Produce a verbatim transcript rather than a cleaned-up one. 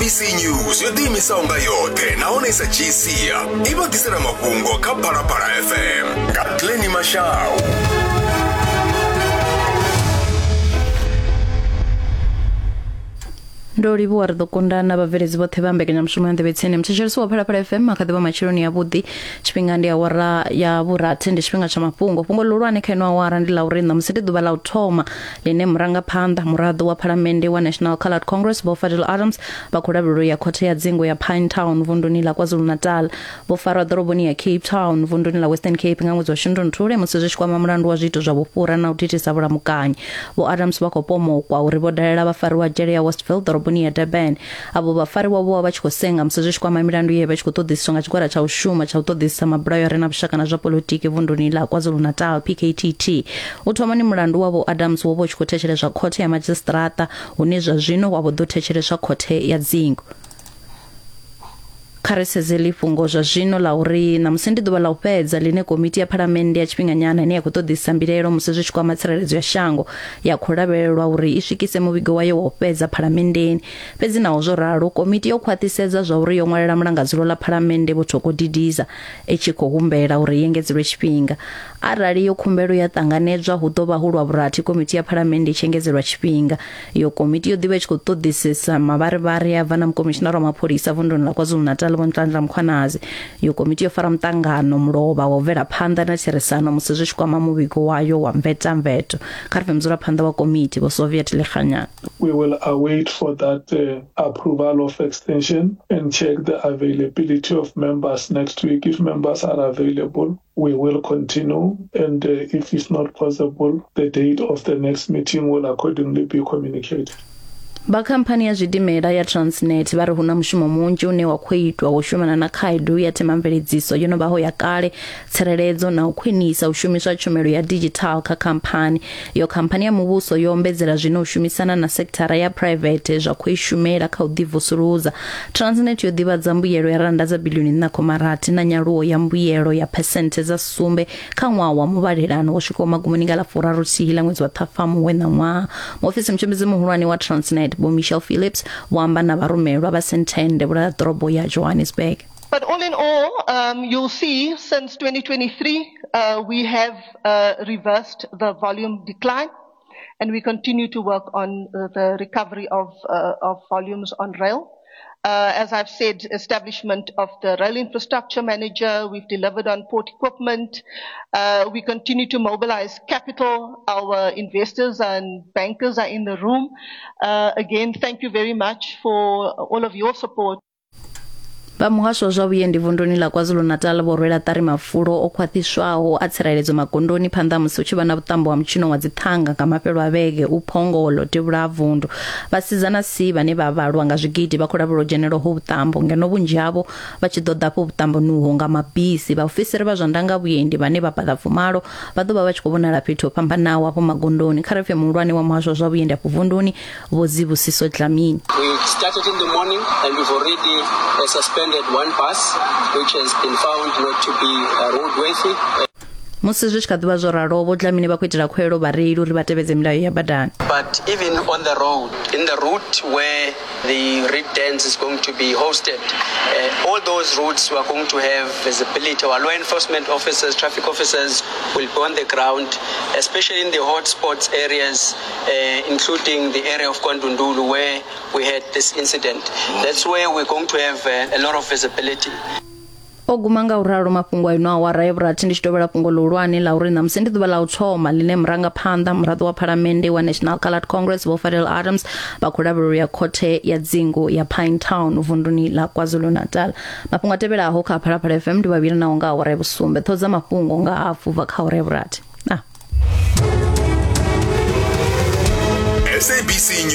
S A B C News yo ḓiimisaho nga yoṱhe nahone i sa dzhii sia i vha ḓisela mafhungo kha Phalaphala F M nga Glenny Mashau. Ndo livhuwa ri ḓo kunda na vhabveledzi vhoṱhe vha mbekanyamushumo ya Nḓevhe Tsini. Muthetshelesi wa Phalaphala F M, kha ḓivha matsheloni avhuḓi. Tshifhinga ndi awara ya vhurathi, ndi tshifhinga tsha mafhungo. Fhungo ḽihulwane kha ino awara ndi ḽa uri ṋamusi ndi ḓuvha ḽa u thoma ḽine murangaphanḓa muraḓo wa phalamennde wa National Coloured Congress Vho Fadil Adams vha khou lavhelelwa ya khothe ya dzingo ya Pinetown vunduni ḽa KwaZulu-Natal. Vho farwa ḓoroboni ya Cape Town vunduni ḽa Western Cape nga ṅwedzi wa Shundunthule musi zwi tshi kwama mulandu wa zwiito zwa vhufhura na u thithisa vhulamukanyi. Vho Adams vha khou pomokwa uri vho dalela vhafariwa dzhele ya Westville ḓoroboni ya Durban. Avho vhafariwa vho vha vha tshi khou senga musi zwi tshi kwama milandu ye vha tshi khou ṱoḓisiswa nga tshigwada tsha u shuma tsha u ṱoḓisisa mabulayo a re na vhushaka na zwa polotiki vunduni ḽa KwaZulu-Natal, P K T T. U thomani mulandu wa Vho Adams wo vha u tshi khou thetsheleswa khothe ya madzhisiṱiraṱa, hune zwa zwino wa vho ḓo thetsheleswa khothe ya dzingo. Kha ri sedze ḽifhungo zwa zwino ḽa uri ṋamusi ndi ḓuvha ḽa u fhedza ḽine komiti ya phalamennde ya tshifhinganyana ine ya khou ṱoḓisisa mbilaelo musi zwi tshi kwama tsireledzo ya shango ya khou lavhelelwa uri i swikise muvhigo wayo wa u fhedza phalamenndeni. Fhedzi naho zwo ralo, komiti yo khwaṱhisedza zwa uri yo ṅwalela mulangadzulo ḽa phalamennde Vho Thoko Didiza i tshi khou humbela uri i engedzelwe tshifhinga. Arali yo khumbelo ya ṱanganedzwa, hu ḓo vha hu lwa vhurathi komiti ya phalamennde i tshi engedzelwa tshifhinga. Iyo komiti yo ḓivha i tshi khou ṱoḓisisa mavharivhari a bva na mukomishinara wa mapholisa vunduni ḽa KwaZulu-Natal Vho Nhlanhla Mkhwanazi. Iyo komiti yo fara muṱangano mulovha wa u bvela phanḓa na therisano musi zwi tshi kwama muvhigo wayo wa mvetamveto. Kha ri pfe mudzulaphanḓa wa komiti Vho Soviet Lekganyane. We will await for that uh, approval of extension and check the availability of members next week. If members are available, we will continue, and uh, if it's not possible, the date of the next meeting will accordingly be communicated. Vha khamphani ya zwidimela ya Transnet vha ri hu na mushumo munzhi une wa khou itwa wo shumana na khaedu ya themamveledziso yo no vhaho ya kale, tsireledzo na u khwinisa u shumiswa tshumelo ya digital kha khamphani. Iyo khamphani ya muvhuso yo ombedzela zwino u shumisana na sekithara ya private zwa khou i shumela kha u ḓivusuludza. Transnet yo ḓivhadza mbuyelo ya randa dza bilioni nṋa khoma rathi na nyaluwo ya mbuyelo ya phesenthe dza sumbe kha ṅwaha wa muvhalelano wo swikaho magumoni nga ḽa furaru thihi ḽa ṅwedzi wa Ṱhafamuhwe ṋaṅwaha. Muofisi mutshimbidzi muhulwane wa Transnet Vho Michelle Phillips vho amba na vharumelwa vha Sentende vhula ḓorobo ya Johannesburg. But all in all, um, you'll see since twenty twenty-three, uh, we have uh, reversed the volume decline, and we continue to work on uh, the recovery of, uh, of volumes on rail. Uh, as I've said, establishment of the rail infrastructure manager, we've delivered on port equipment. Uh, we continue to mobilize capital. Our investors and bankers are in the room. Uh, again, thank you very much for all of your support. Vha muhasho wa zwa vhuendi vunduni ḽa KwaZulu-Natal vho rwela ṱari mafulo o khwaṱhiswaho a tsireledzo magondoni phanḓa musi hu tshi vha na vhuṱambo ha mutshino wa dziṱhanga nga mafhelo a vhege u Phongolo devhula ha vundu. Vhasidzana si vhane vha vhalwa nga zwigidi vha khou lavhelelwa u dzhenela ho vhuṱambo, ngeno vhunzhi havho vha tshi ḓo ḓa afho vhuṱamboni uho nga mabisi. Vhaofisiri vha zwa ndanga vhuendi vhane vha paḓa fumalo vha ḓo vha vha tshi khou vhonala fhethu ho fhambanaho afho magondoni. Kha ri pfe muhulwane wa muhasho wa zwa vhuendi afho vunduni Vho Zibusiso Dlamini. We started in the morning and we've already uh, suspended one bus which has been found not to be uh, roadworthy. Musi zwi tshi kha ḓivha zwo ralo, Vho Dlamini vha khou itela khuwelelo vhareili uri vha tevhedze milayo ya badani. But even on the road, in the route where the reed dance is going to be hosted, uh, all those routes we are going to have visibility. Our law enforcement officers, traffic officers will be on the ground, especially in the hotspots areas, uh, including the area of KwaNdundulu where we had this incident. That's where we're going to have uh, a lot of visibility. O guma nga u ralo mafhungo a ino awara ya vhurathi. Ndi tshi tovhela fhungo ḽihulwane ḽa uri ṋamusi ndi ḓuvha ḽa u thoma ḽine murangaphanḓa muraḓo wa phalamennde wa National Coloured Congress Vho Fadil Adams vha khou lavhelelwa ya khothe ya dzingu ya Pinetown vunduni ḽa KwaZulu-Natal. Mafhungo a tevhelaho kha Phalaphala F M ndi vhavhili naho nga awara ya vhusumbe. Ṱhoho dza mafhungo nga hafu bva kha awara ya vhurathi. Ah. S A B C.